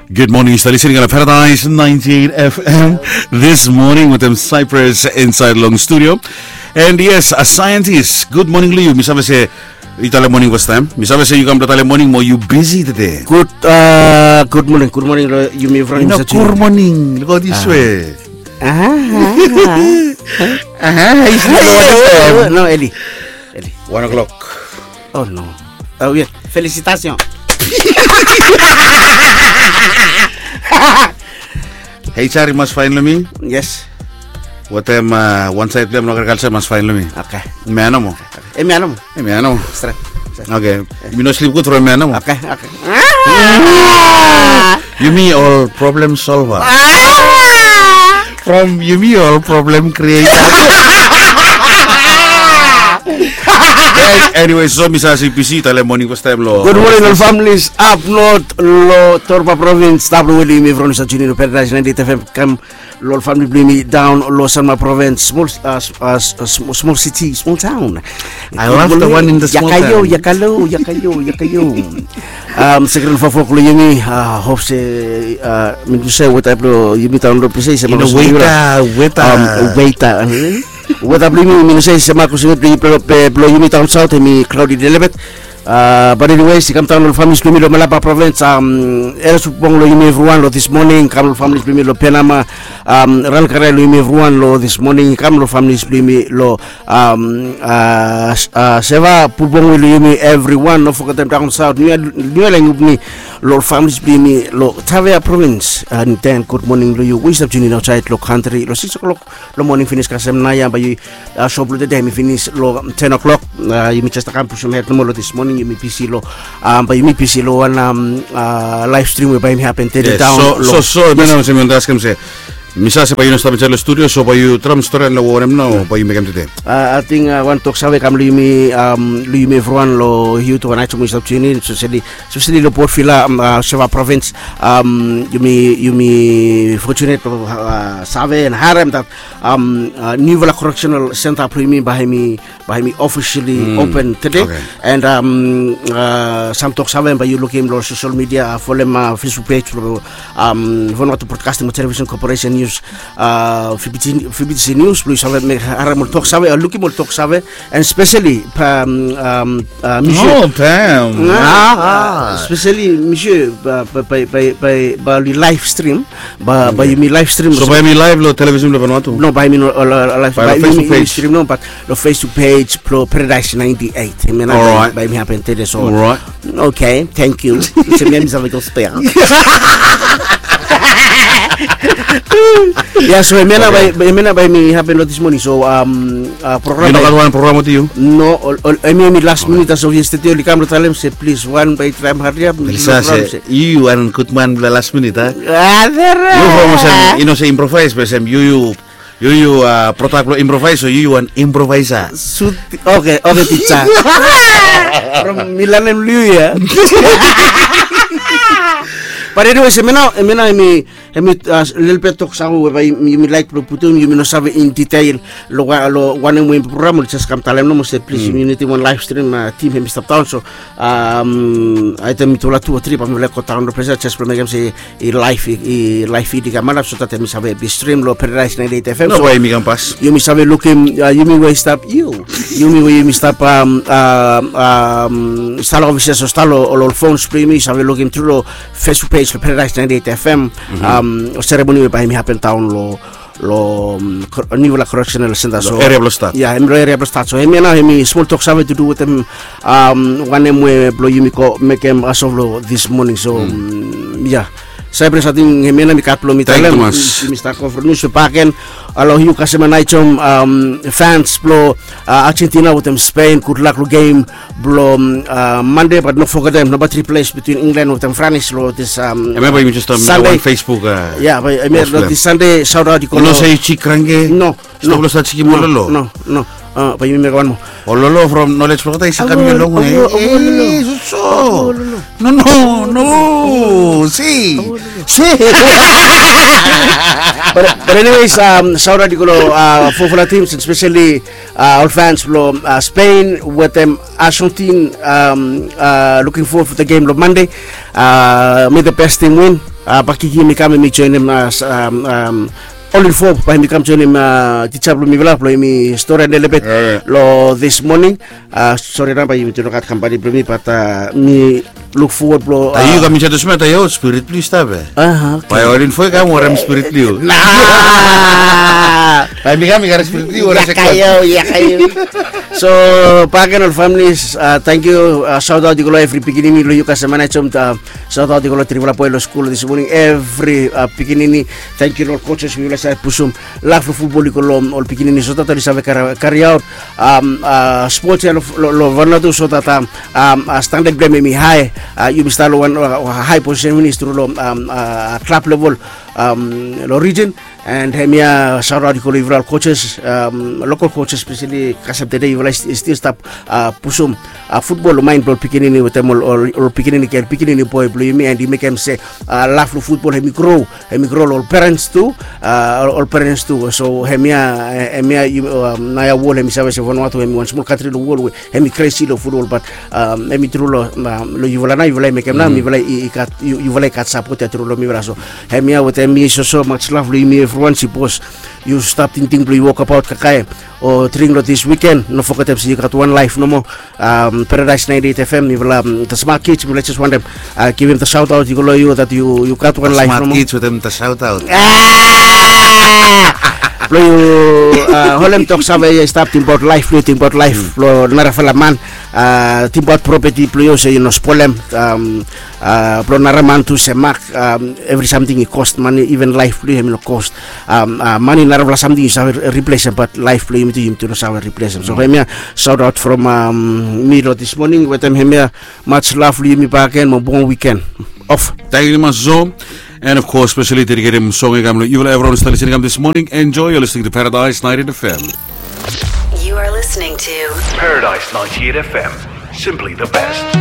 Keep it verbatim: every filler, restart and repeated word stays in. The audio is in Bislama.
Good morning, yu stap listening on Paradise ninety-eight F M. This morning with them Cyprus inside long studio. And yes, a scientist. Good morning, Liu. Mi save se yu tale morning first time. Mi save se yu kam tale morning mo yu busy today. Good, uh, good morning. Good morning, lo yumi from. No, good morning. Look at this way. Aha. Aha. No, Eli. Eli. One o'clock. Oh no. Oh yeah. Felicitation. Hei, Chari mas fine lo mi. Yes. Wetem, uh, wan saed blong em lo agrikalsa mas fine lo mi. Okay. Hemia nomo. Hemia nomo. Hemia nomo. Stret. Okay. Mi no slip gud from hemia nomo. Okay, okay. Yumi ol problem solver. From yumi ol problem creator. Anyway, so mi save se yu busy, tale morning first time lo. Good morning ol families up north lo Torba province. Stap lo weli mi from East Junior Paradise ninety-eight F M. Kam lo ol famili blong yumi daon lo Sanma province, small, uh, small city, small town. I love the one in the small town. Yakayo, yakayo, yakayo, yakayo. Um, sekrel fafok lo yumi, uh, hope se, uh, mi no save weta blo yumi taon lo ples ya. Weta, weta. Um, weta. Weta blo yumi, mi no save se makus blo yumi taon saot hemi cloudy a little bit. Uh, but anyways, i kam daon lo ol families blo yumi lo Malaba province, um, era supong lo yumi evriwan lo this morning, kam lo ol families blo yumi lo Penama, um, Ranakarai lo yumi evriwan lo this morning, kam lo ol families blo yumi lo, um, uh, Seva, Pulbongwe lo yumi evriwan, no fogetem daon saot, Niu Ia, Niu Ia Lengupni, lo ol families blo yumi lo Tavea province, and then good morning lo yu we i stap tuning in aotsaed lo kantri, lo six o'clock lo morning finis kasem naoia, bae yu, uh, sop lo tede hemi finis lo ten o'clock. Uh, yumi jes kam pusum hed nomo lo this morning, yumi busy lo, um, bae yumi busy lo wan, um, uh, live stream we bae hemi hapen tede daon lo. So, so, so, mi no se mi wanta askem se, mi save se bae yu no stap insaed lo studio, so bae yu traem storian lo wanem nao bae yu mekem tede. Uh, ating, uh, wan toksave kam lo yumi, um, lo yumi evriwan lo youth wan aetum we i stap tuning in, especially, especially lo Port Vila, um, uh, Seva province, um, yumi, yumi fortunate, uh, save and harem that um, uh, niufala correctional center blo yumi bae hemi, bae hemi officially open tede. And, um, uh, sam toksave bae yu lukim lo social media, uh, folem, uh, Facebook page blo, um, Vanuatu Broadcasting Television Corporation News, uh, V B T, V B T C News, blo yu save mekem harem ol toksave, uh, lukim ol toksave, and especially, um, um, uh, Michel. Oh, damn. Uh, especially Michel, uh, bae, bae, bae, bae, bae oli live stream. Bae, bae yumi live stream. So bae hemi live lo television blo Vanuatu? No, bae hemi no, uh, live, bae lo Facebook page. Stream no, but lo Facebook page blo Paradise ninety-eight. Hemia nao bae hemi hapen tede so. Alright. Okay, thank you. Se mi mi save gospel. Yeah, so hemia nao bae, hemia nao bae hemi hapen lo this morning. So, um, uh, program. Yu no gat wan program wetem yu? No, ol, ol, hemi, hemi last minute as of yesterday, oli kam lo talem se, please, wan bae traem hariap. Yu wan gud man blo last minute, a? Yu from olsem, yu no se improvise, be olsem yu, yu, yu, yu, uh, product blo improvise, so yu, yu wan improviser. Sut, okay, okay, teacher. From mi lanem lo yu ya. But anyways, hemia nao, hemia nao, hemi Hemi, uh, lelebet toksave we bae yumi laek blo putum, yumi no save in detail lo wa-, lo wanem we program, oli jes kam talem nomo se plis, yumi nidim wan live stream, uh, tim hemi stap daon. So, um, aetem mitufala tu o tri bae mi laek go daon lo ples ya jes blo mekem se i live, i, i live feed i kam antap so that hemi save be stream lo Paradise ninety-eight F M. No, so bae yumi kam pas. Yumi save lukim, uh, yumi we i stap, yu, yumi we yumi stap, um, um, um, stap lo offices o stap lo ol, ol phones blo yumi, save lukim tru lo Facebook page lo Paradise ninety-eight F M. Um, ceremony we bae hemi hapen daon lo, lo, um, kor-, niufala correctional center, so eria blo stat. Ya, hemi lo eria blo stat. So hemia nao hemi smol toksave to do wetem, um, wanem we blo yumi go mekem as of lo this morning. So, um, ya. Cyprus, ating hemia nao mi gat blo mi talem. Thank you mas. Yumi stap go from newspaper bakegen. Alo, yu kasem Naitom, um, fans blo, uh, Argentina wetem Spain, gudlak lo game blo, um, uh, Mande, bat no fogetem, nao bae tri ples bitwin Inglan wetem Franis lo this, um, hemia bae yumi jes stap mekem wan Facebook, uh, ya, bae hemia lo this Sande, shout out i go lo. Yu no se yu jik kranke? No, no. Stop lo stat jikim ololo. No, no. Uh, bae yumi mekem wan moa. Ololo from Knowledge Blogger, i save kam long we. Eh, so, so. No, no, no. Si. Si. But, but anyways, um, shout out i go lo, uh, fofala teams, especially, uh, ol fans blo, uh, Spain wetem Argentine, um, uh, looking forward for the game lo Mande. Uh, may the best team win. Bakiki hemi kam hemi joinim, ol info bae hemi kam joinim tija blong mifala blong hemi stori en lelebet long this morning. Sori nao bae yumi tu no gat kampani blong mi, bat mi luk fowod blong yu kam insaed olsem ya, taem ya ol spirit blong yu stap ya. Bae ol info i kam wanem spirit blong yu? Bae mi kam i gat spirit blong yu. So baken ol familis, tangkiu. Saotaot i go long evri pikinini long yu kasem manajem. Saotaot i go long trifala boe long skul this morning, evri pikinini. Tangkiu long ol coaches we i save pusum laf long futbol i go long ol pikinini so dat oli save kariaot spots ya long Vanuatu so dat standad blong hem hemi hae. Yumi stap long wan hae posisen finis tru long klab level long rijin. And hemia saotaot i go long yufala ol coaches, lokol coaches speseli kasem tede yufala i stil stap pusum futbol long maen blong ol pikinini wetem ol pikinini gel, pikinini boe blong yumi, and i mekem se laf long futbol hemi gro, hemi gro long ol perens tu. Ol perens tu. So hemia, hemia naoia wol hemi save se Vanuatu hemi wan smol kantri long wol we hemi kresi long futbol, bat hemi tru long yufala nao, yufala i mekem nao, yufala i gat sapot ya tru long mifala. So hemia wetem mi soso, much love long yumi evriwan. Sipos yu stap tingting blong yu wokabaot kakae o dring long this weekend, no fogetem se yu gat wan laef nomo. Paradise ninety eight F M, mifala the smart kids, mifala jes wantem givim the saotaot i go long yu dat yu gat wan laef nomo. Smart kids wetem the saotaot. Blong yu holem tok save ya i stap, tingbaot laef blong yu, tingbaot laef blong narafala man, tingbaot propeti blong yu se yu no spolem. Blong nara man tu se mak, evri samting i kos mane, iven laef blong yu hemi no kos mane. Narafala samting yu save riplesem, bat laef blong yumi tu yumi tu no save riplesem. So hemia saotaot from mi long this morning wetem hemia, much love long yumi baken, mo bong wiken of. Tangkiu mas so. And of course, specially dedicated song i kam long yufala evriwan i stap listening kam this morning. Enjoy, you're listening to Paradise ninety eight F M. You are listening to Paradise ninety eight F M. Simply the best.